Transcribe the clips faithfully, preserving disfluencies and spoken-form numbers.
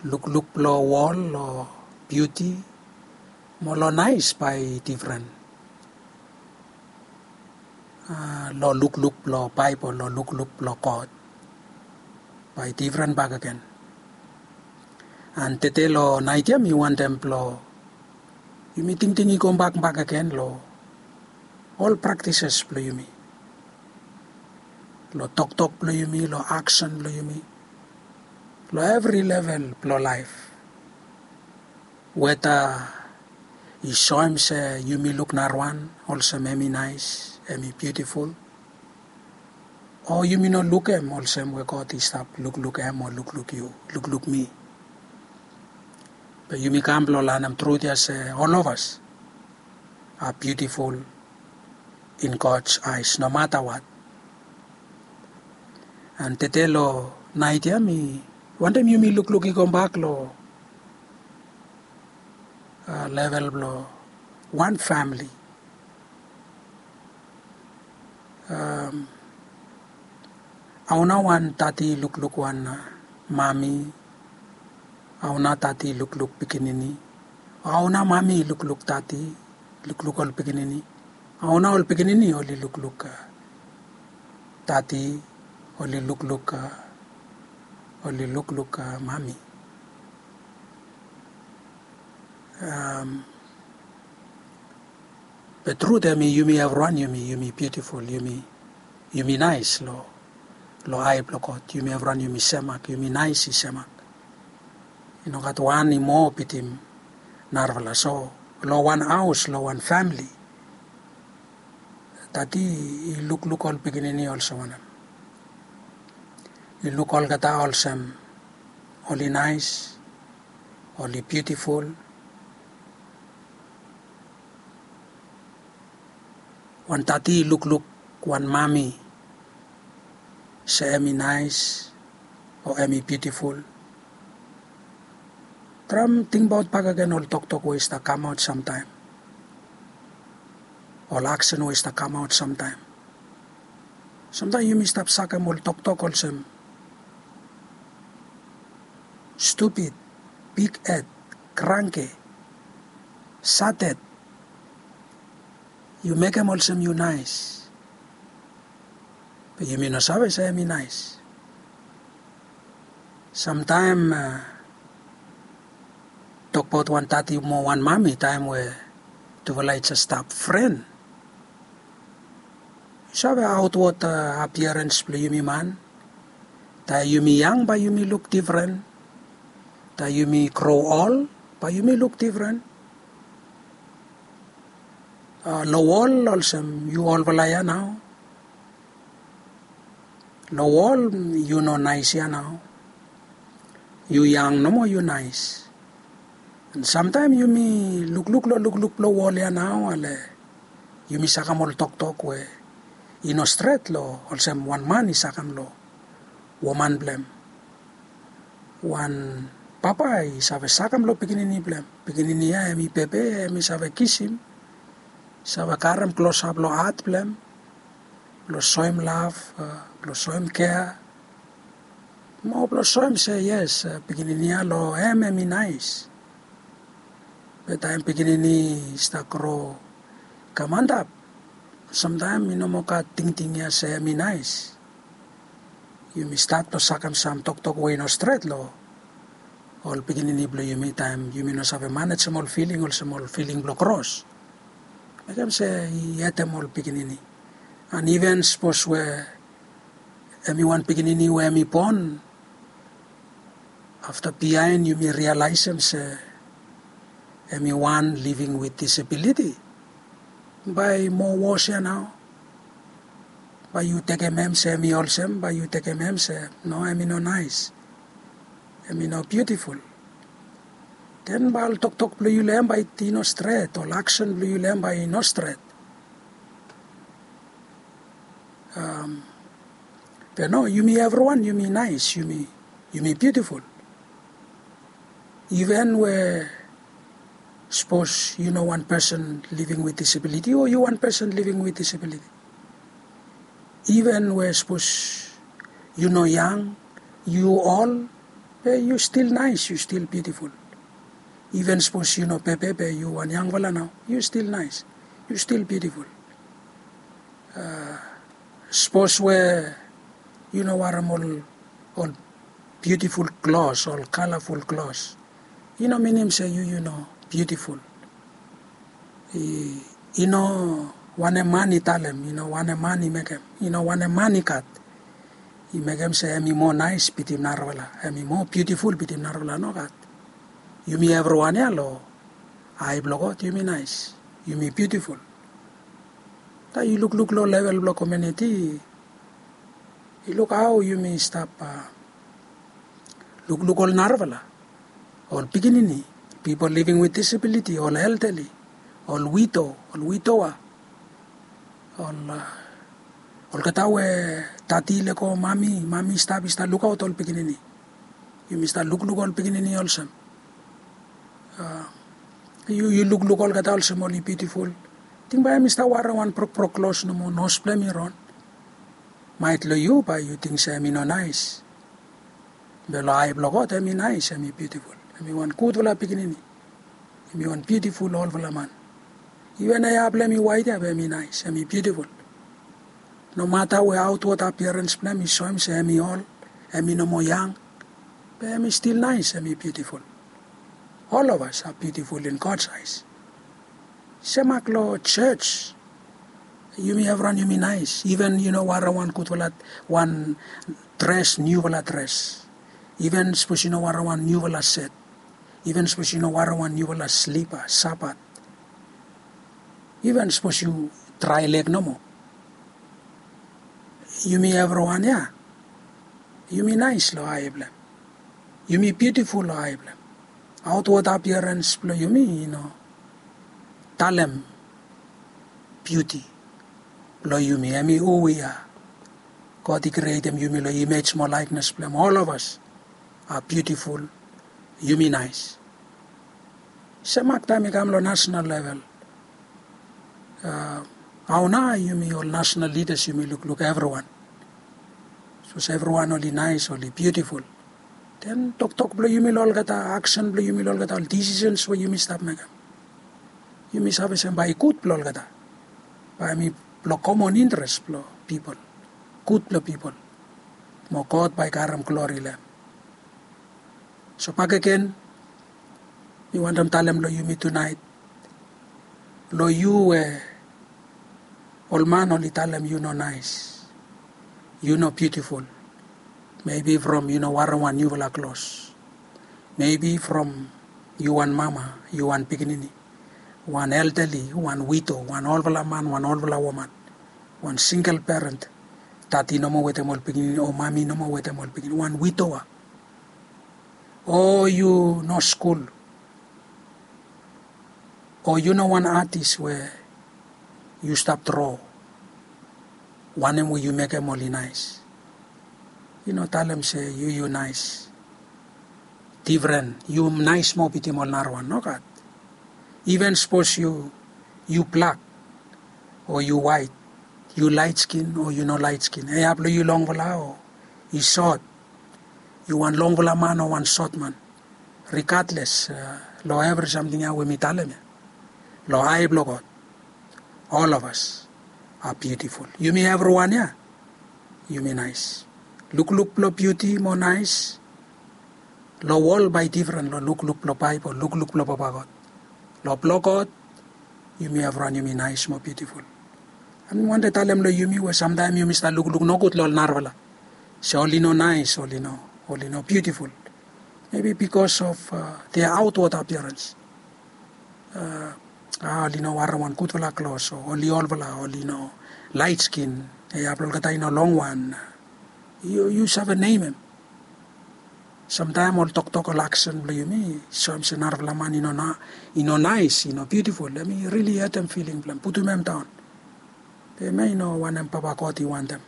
lukluk blong wol long biuti mo long naes bae i difren long lukluk blong baebol long lukluk blong god. Bae i difren bakegen. An tede long naet ya mi wantem blong yumi tingting i gobak bakegen long ol praktises blong yumi, long toktok blong yumi, long aksen blong yumi, long evri level blong laef. Weta i soem se yumi luk narawan olsem hem i naes, hem i biutiful, o yumi no lukem olsem we god i stap lukluk hem o lukluk yu, lukluk mi. Be yumi kam blong lanem trut ya se ol of as a biutiful in god's aes no mata wat. An tede long naet ya mi wantem yumi lukluk i gobak long level blong wan famili. Haona wan tati i lukluk wan mami? Haona tati i lukluk pikinini? Haona mami i lukluk tati, lukluk ol pikinini? Haona ol pikinini oli lukluk tati, oli lukluk oli lukluk mami? Be trut hem i yumi evriwan yumi yumi biutiful, yumi naes long ae blong god. Yumi evriwan yumi semak, yumi naes i semak. I no gat wan i moa bitim narafala. So long wan haos, long wan famili, tati i lukluk ol pikinini olsem wanem? I luk olgeta olsem oli naes, oli biutiful? Wan tati i lukluk wan mami se hem i naes o hem i biutiful? Traem tingbaot bakegen ol toktok we i stap kamaot samtaem, ol aksen we i stap kamaot samtaem. Samtaem yumi stap sakem ol toktok olsem stupid, bighed, kranke, sated. Yu mekem olsem yu naes, be yumi no save se hem i naes. Samtaem tokbaot wan tati mo wan mami taem we tufala i jes stap fren. Yu save aotwod apiarens blong yumi man. Taem yumi yang bae yumi luk difren. Taem yumi gro ol bae yumi luk difren. Long wol olsem yu olfala ya nao. Long wol yu no naes ya nao. Yu yang nomo yu naes. An samtaem yumi lukluk long lukluk blong wol ya nao ale yumi sakem ol toktok we i no stret long olsem wan man i sakem long woman blong hem. Wan papa i save sakem long pikinini blong hem. Pikinini ya hem i bebe, hem i save kisim, save karem klosap long hat blong hem blong soem lav, blong soem kea, mo blong soem se yes, pikinini ya long hem hem i naes. Be taem pikinini i stap gro i kam antap, samtaem i no moa gat tingting ya se hem i naes. Yumi stat long sakem sam toktok we i no stret long ol pikinini blong yumi taem yumi no save manejem ol filing olsem ol filing blong kros. Mekem se i hetem ol pikinini. An iven sapos we hem i wan pikinini we hem i bon, afta biaen yumi rialaesem se hem i wan living with disability, bae i moa wos ya nao. Bae yu tekem hem se hem i olsem, bae yu tekem hem se no, hem i no naes, hem i no biutiful. Den bae ol toktok blong yu long hem bae i no stret, ol aksen blong yu long hem bae i no stret. Be no, yumi evriwan yumi naes, yumi biutiful. Iven we sapos yu no wan pesen living with disability o yu wan pesen living with disability, iven we sapos yu no yang, yu ol, Be yu stil naes, yu stil biutiful. Iven sapos yu no pepe be yu wan yangfala nao, yu stil naes, yu stil biutiful. Sapos we yu no warem ol ol biutiful klos, ol kalaful klos, i no minim se yu yu no biutiful. I no wanem man i talem, i no wanem man i mekem, i no wanem man i gat i mekem se em i moa naes bitim narafala, em i moa biutiful bitim narafala, nogat. Yumi evriwan ya long ai blong God yumi naes, yumi biutiful. Taem yu lukluk long level blong komuniti, i luk hao yumi stap lukluk ol narafala, ol pikinini, pipol living with disability, ol elderly, ol wido, ol widowa, ol olgeta we dadi i lego mami, mami i stap i stap lukaot ol pikinini. Yumi stap lukluk ol pikinini olsem, yu yu lukluk olgeta olsem oli biutiful. Ting bae em i stap warem wan brokbrok klos nomo, nos blong em i ron. Maet long yu bae yu ting se em i no naes. Be long ai blong God em i naes, em i biutiful, em i wan gudfala pikinini, em i wan biutiful olfala man. Iven hea blong em i waet ya be em i naes, em i biutiful. Nomata we aotwod apiarens blong em i soem se em i ol, em i no moa yang, be em i stil naes, em i biutiful. Ol of as a biutiful in God saes. Semak long jos, yumi evriwan yumi naes. Iven yu no warem wan gudfala wan dres, niufala dres, iven sapos yu no warem wan niufala set, iven sapos yu no warem wan niufala slipa, sapat, iven sapos yu drae leg nomo, yumi evriwan ya yumi naes long ai blong em. Yumi biutiful long ai blong em. Aotwod apiarens blong yumi i no talem biuti blong yumi, em i hu wi a. God i krietem yumi long imej mo laeknes blong em. Ol of as a biutiful, yumi naes. Semak taem i kam long nasonal level, hao nao yumi ol nasonal lidas yumi lukluk evriwan? Sapos evriwan oli naes, oli biutiful, den toktok blong yumi long olgeta, aksen blong yumi long olgeta, ol disisens we yumi stap mekem, yumi save se bae i gud blong olgeta, bae em i blong komon interes blong pipol, gud blong pipol, mo God bae i karem glori long em. So bakegen, mi wantem talem long yumi tunaet, long yu we ol man oli talem yu no naes, yu no biutiful, mebi from yu no warem wan niufala klos, mebi from yu wan mama, yu wan pikinini, wan eldali, wan wido, wan olfala man, wan olfala woman, wan singel peren, dadi nomo wetem ol pikinini o mami nomo wetem ol pikinini, wan widowa, o yu no skul, o yu no wan atis we yu stap dro wanem we yu mekem oli naes. Yu no talem se yu yu naes difren, yu naes moa bitim ol narawan, nogat. Iven sapos yu yu blak o yu waet, yu laet skin o yu no laet skin, hea blong yu longfala o i sot, yu wan longfala man o wan sot man, rigatles long evri samting ya we mi talem ya, long ai blong God, ol of as a biutiful. Yumi evriwan ya yumi naes. Lukluk blong biuti mo naes long wol bae i difren long lukluk blong Baebol, lukluk blong papa God. Long blong God yumi evriwan yumi naes mo biutiful. Em mi wantem talem long yumi we samtaem yumi stap lukluk nogud long ol narafala, se oli no naes, oli no, oli no biutiful, mebi bikos of dia aotwod apiarens. A, oli no warem wan gudfala klos o oli olfala, oli no laet skin, hea blong olgeta i no longwan. Yu save nemem. Samtaem ol toktok, ol aksen blong yumi i soem se narafala man i no naes, i no biutiful, em i rili hetem filing blong em, putum em daon. Be em ya i no wanem Papa God i wantem.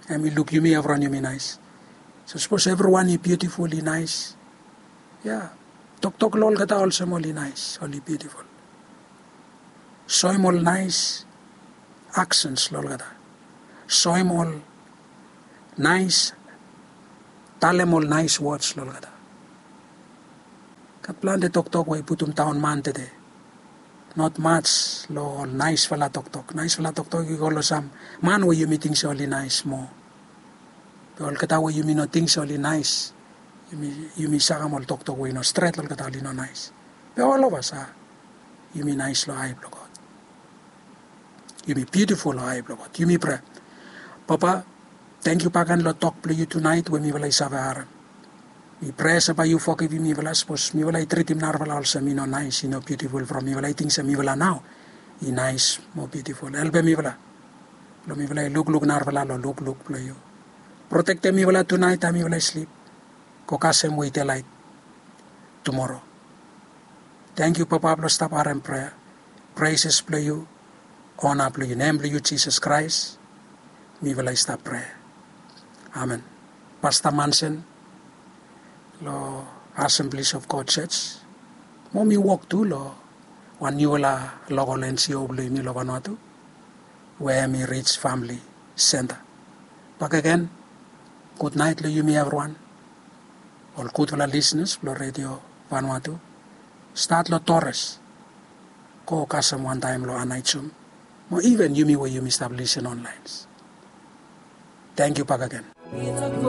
Em i luk yumi evriwan yumi naes. So sapos evriwan i biutiful, i naes, ya, toktok long olgeta olsem oli naes, oli biutiful. Soem ol naes aksens long olgeta. Soem ol naes, talem ol naes wods long olgeta. Gat plante toktok we i putum daon man tede. Not mats long ol naesfala toktok. Naesfala toktok i go long sam man we yumi ting se oli naes moa. Be olgeta we yumi no ting se oli naes, yumi sakem ol toktok we i no stret, olgeta oli no naes. Be ol of as a yumi naes long ae blong God. Yumi biutiful long ae blong God. Yumi prea. Papa, tangkiu bakegen long tok blong yu tunaet we mifala i save harem. Mi prea se bae yu fogivim mifala sapos mifala i tritim narafala olsem i no naes, i no biutiful from mifala i ting se mifala nao i naes mo biutiful. Helpem mifala blong mifala i lukluk narafala long lukluk blong yu. Protektem mifala tunaet taem mifala i slip. Go kasem we i delaet tumoro. Tangkiu Papa blong stap harem prea. Preses blong yu, ona blong yu, nem blong yu Jisas Kraes mifala i stap prea. Amen. Pasta Mansen long Assemblies of God Church. Mo mi wok tu long wan niufala lokol N G O blong yumi long Vanuatu we hem i Rich Famili Senta. Bakegen, gudnaet long yumi evriwan. Ol gudfala lisnas blong Redio Vanuatu, stat long Torres go kasem wantaem long Anaijum, mo iven yumi we yumi stap lisen onlaen. Tangkiu bakegen.